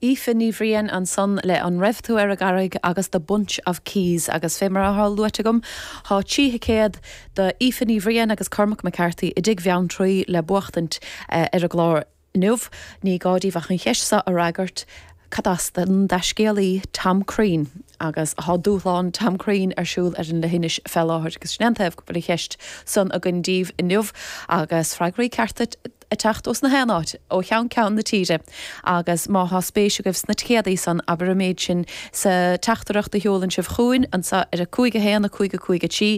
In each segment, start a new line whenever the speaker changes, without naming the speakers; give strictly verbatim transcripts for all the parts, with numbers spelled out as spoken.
Aoife Ní Bhriain ansan le An Raibh Tú ar an gCarraig agus The Bunch of Keys agus fé mar atá luaite agam tá trí thicéad do Aoife Ní Bhriain agus Cormac McCarthy i dTigh Bheanntraí le buachtaint uh, ar an gclár inniu ní gá daoibh ach an cheist seo a fhreagairt Cad as don taiscéalaí Tom Crean agus tá dúshlán Tom Crean ar siúl ar an leithinis fé láthair agus sin an taobh go bhfuil an cheist san againn daoibh inniu agus freagraí cearta ag teacht as gach aon áit ó cheann ceann na tíre agus má tá spéis agaibh sna ticéadaí san abair an méid sin sa teachtaireacht a sheolann sibh chugainn anseo ar a cúig a haon a cúig a cúig a trí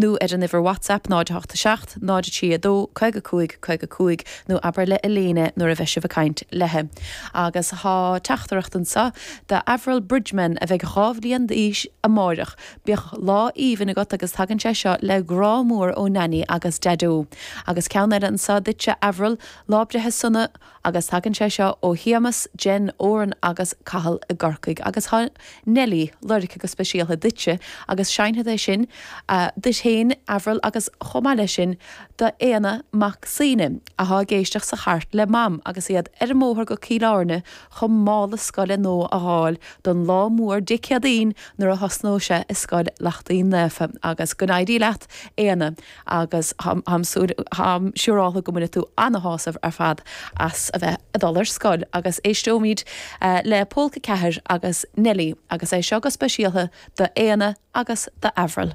nó ar an uimhir WhatsApp náid a seacht náid a trí a dó caoga cúig caoga cúig nó abair le Elena nuair a bheidh sibh ag caint léi. Agus tá teachtaireacht anseo do Avril Bridgman a bheidh dhá bhliain d'aois amárach. Bíodh lá aoibhinn agat agus tagann sé seo le grá mór ó Nanny agus Daideo. Agus ceann eile anseo duitse Avril lá breithe sona agus tagann sé seo ó Shéamus, Jen, Oran agus Cathal i gCorcaigh agus tá Nelly lorgtha go speisialta duitse agus seinnfead é sin uh, duit féin Avril agus chomh maith leis sin do Éanna Mac Suibhne atá ag éisteacht sa charr le mam agus iad ar an mbóthar go Cill Airne chun mála scoile nua a fháil don lá mór Dé Céadaoin nuair a thosnóidh sé i scoil Lachtaín Naofa agus go n-éirí leat Éanna agus táim siúráilte go mbainfidh tú an-shásamh ar fad as a bheith ag dul ar scoil agus éisteoimid uh, le Pólca Ceathair agus Nelly agus é seo go speisialta do Éanna agus do Avril.